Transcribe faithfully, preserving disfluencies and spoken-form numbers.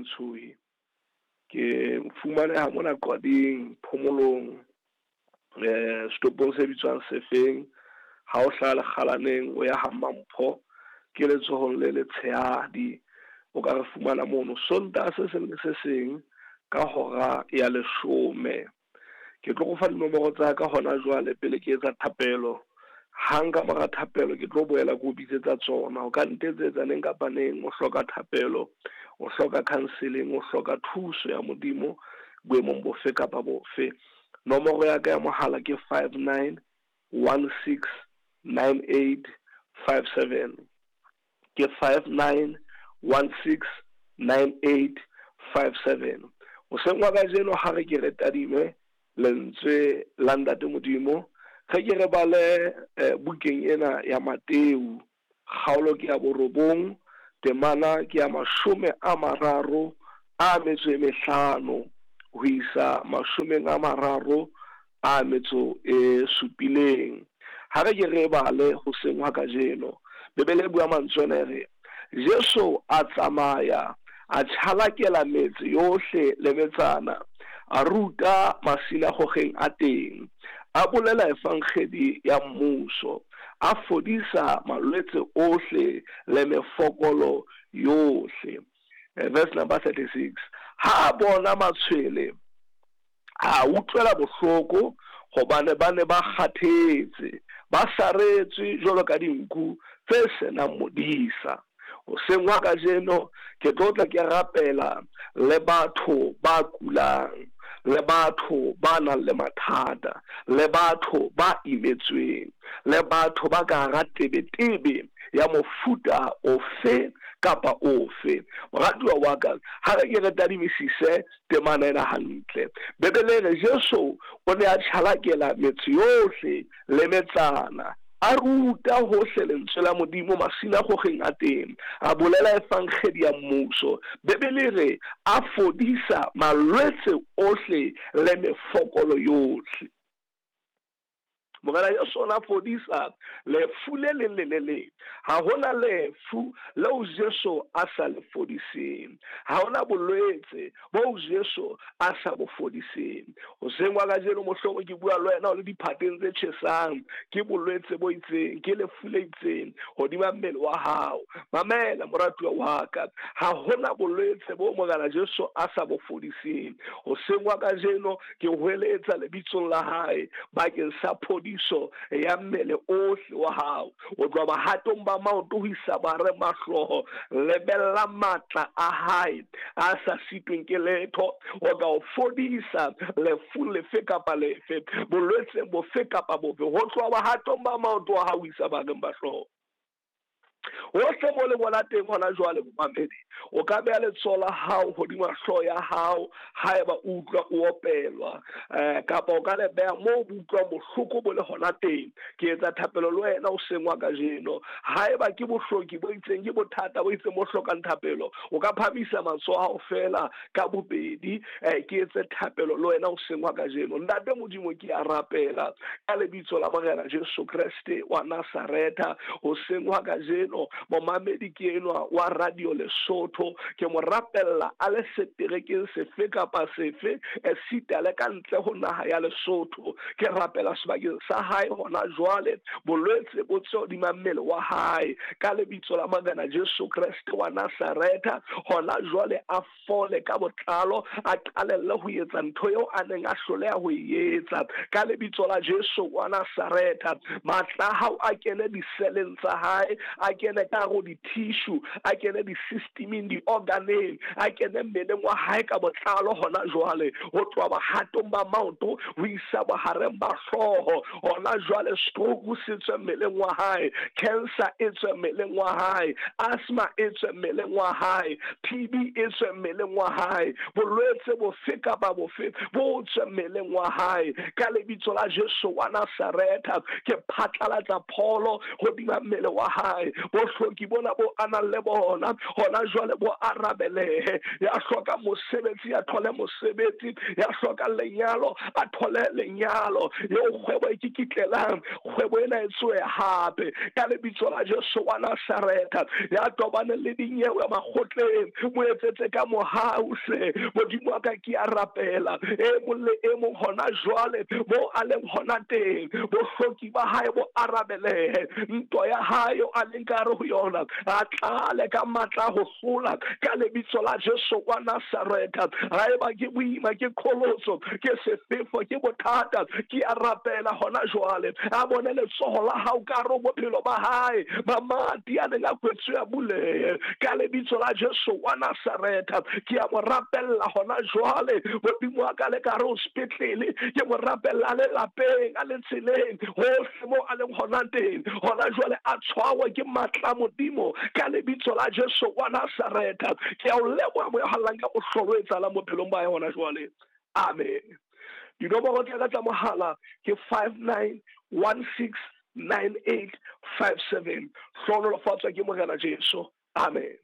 Ntshoe. Ke fumaneha mona Qwading Phomolong, eh setopong se bitswang Sefeng. Ha o hlaha Lekgalaneng o ya ha Mampho, ke letsohong le letshehadi, o ka re fumana mono Sontaha se seng le se seng ka hora ya leshome. Ke tlo go fa dinomoro tsa ka hona jwale pele ke etsa thapelo. Hang ka mora thapelo ke tlo boela ke o bitsetsa tsona. O ka ntetsetsa neng kapa neng o hloka thapelo, o hloka counseling, o hloka thuso ya Modimo boemong bofe kapa bofe. Nomoro ya ka ya mohala ke five nine one six nine eight five seven. Ke five nine one six nine eight five seven. Hoseng wa kajeno ha re ke re tadime lentswe la Ntate Modimo, re ke re bale eh, bukeng ena ya Mateu, kgaolo ke ya borobong, temana ke ya mashome a mararo a metso e mehlano ho isa mashomeng a mararo a metso e supileng. Ha re ke re bale hoseng ha kajeno, Bibele e bua mantswe ana e re, Jesu a tsamaya a tjhalakela metse yohle le metsana, a ruta masinagogeng a teng, a bolela evangedi ya mmuso, a fodisa malwetse ohle le mefokolo yohle. Verse number thirty-six. Ha a bona matshwele, a utlwela bohloko hobane ba ne ba kgathetse, ba saretswe jwalo ka dinku tse senang modisa. Hoseng wa kajeno ke tlo tla ke rapela le batho ba kulang, le batho ba nang le mathata, le batho ba imetsweng, le batho ba ka hara tebetebe ya mofuta ofe kapa ofe. Moratuwa wa ka, ha re ke re tadimisise temana ena hantle. Bibele e re Jesu o ne a tjhalakela metse yohle le metsana, a ruta hohle lentswe la Modimo masinagogeng a teng, a bolela evangedi ya mmuso. Bibele re a fodisa malwetse ohle le mefokolo yohle. Morena Jesu o na fodisa lefu le leng le le leng. Ha hona lefu leo Jesu a sa le fodiseng. Ha hona bolwetse boo Jesu a sa bo fodiseng. Hoseng wa kajeno mohlomong ke bua le wena o le diphateng tse tjhesang, ke bolwetse bo itseng, ke lefu le itseng hodima mmele wa hao. Mamela moratuwa wa ka, ha hona bolwetse bo Morena Jesu a sa bo fodiseng. Hoseng wa kajeno ke hweletsa lebitsong la hae bakeng sa phodiso ya mmele ohle wa hao. O tloha bahatong ba maoto ho isa bareng ba hlooho. Lebella matla a hae a sa sitweng ke letho ho ka o fodisa lefu lefe kapa lefe, bolwetse bofe kapa bofe, ho tloha bahatong ba maoto a hao ho isa bareng ba hlooho. Hohle mo le bona teng hona jwale momamedi, o ka beha letsoho la hao hodima hlooho ya hao haeba o utlwa o opelwa, eh kapa o ka le beha moo o utlwang bohloko bo le hona teng. Ke etsa thapelo le wena hoseng wa kajeno. Haeba ke bohloki bo itseng, ke bothata bo itseng bo hlokang thapelo, o ka phamisa matsoho a hao fela ka bobedi, eh ke etse thapelo le wena hoseng wa kajeno. Ntate Modimo, ke a rapela ka lebitso la Morena Jesu Kreste wa Nazaretha hoseng wa kajeno. Momamedi ke enwa wa Radio Lesotho, ke mo rapella a le seterekeng sefe kapa sefe, esita le ka ntle ho naha ya Lesotho. Ke rapela sebakeng sa hae hona jwale, bolwetse bo tswe hodima mmele wa hae ka lebitso la Morena Jesu Kreste wa Nazaretha. Hona jwale a fole ka botlalo, a qalelle ho etsa ntho eo a neng a hloleha ho e etsa ka lebitso la Jesu wa Nazaretha. Matla a hao a kene diseleng tsa hae, a kene ka hare ho di-tissue, a kene di-systemeng, di-organeng, a kene mmeleng wa hae ka botlalo hona jwale, ho tloha bohatong ba maoto ho isa bohareng ba hlooho. Hona jwale stroke se tswe mmeleng wa hae, cancer e tswe mmeleng wa hae, asthma e tswe mmeleng wa hae, T B e tswe mmeleng wa hae, bolwetse bofe kapa bofe bo tswe mmeleng wa hae ka lebitso la Jesu wa Nazaretha. Ke phatlalatsa pholo hodima mmele wa hae. Bohloki bona bo a nang le bona hona jwale bo arabelehe. Ya hlokang mosebetsi a thole mosebetsi, ya hlokang lenyalo a thole lenyalo. Eo kgwebo e kikitlelang, kgwebo ena e tsohe hape ka lebitso la Jesu wa Nasaretha. Ya tobaneng le dinyewe makgotleng, mo etsetse ka mohau hle Modimo wa ka. Ke a rapela e mong le e mong hona jwale mo a leng hona teng, bohloki ba hae bo arabelehe. Ntwa ya hae eo a leng ka hare ho yona, a tlale ka matla ho hlola ka lebitso la Jesu wa Nasaretha. Haeba ke boima, ke qholotso, ke sefefo, ke bothata, ke a rapela hona jwale a bone letsoho la hao ka hare ho bophelo ba hae. Mamati a neng a kwetswe a bulehe ka lebitso la Jesu wa Nasaretha. Ke a mo rapella hona jwale Modimo wa ka, le ka hare ho sepetlele, ke mo rapella a le lapeng, a le tseleng, hohle mo a leng hona teng hona jwale, a tshwawe ke matla a Modimo ka lebitso la Jesu wa Nasaretha. Ke a o leboha moya hallang ka mohlolo o etsahalang bophelong ba hae hona jwale. Amen. Dinomoro tsa ka tsa mohala ke five nine one six nine eight five seven. Hlohonolofatswa ke Morena Jesu. Amen.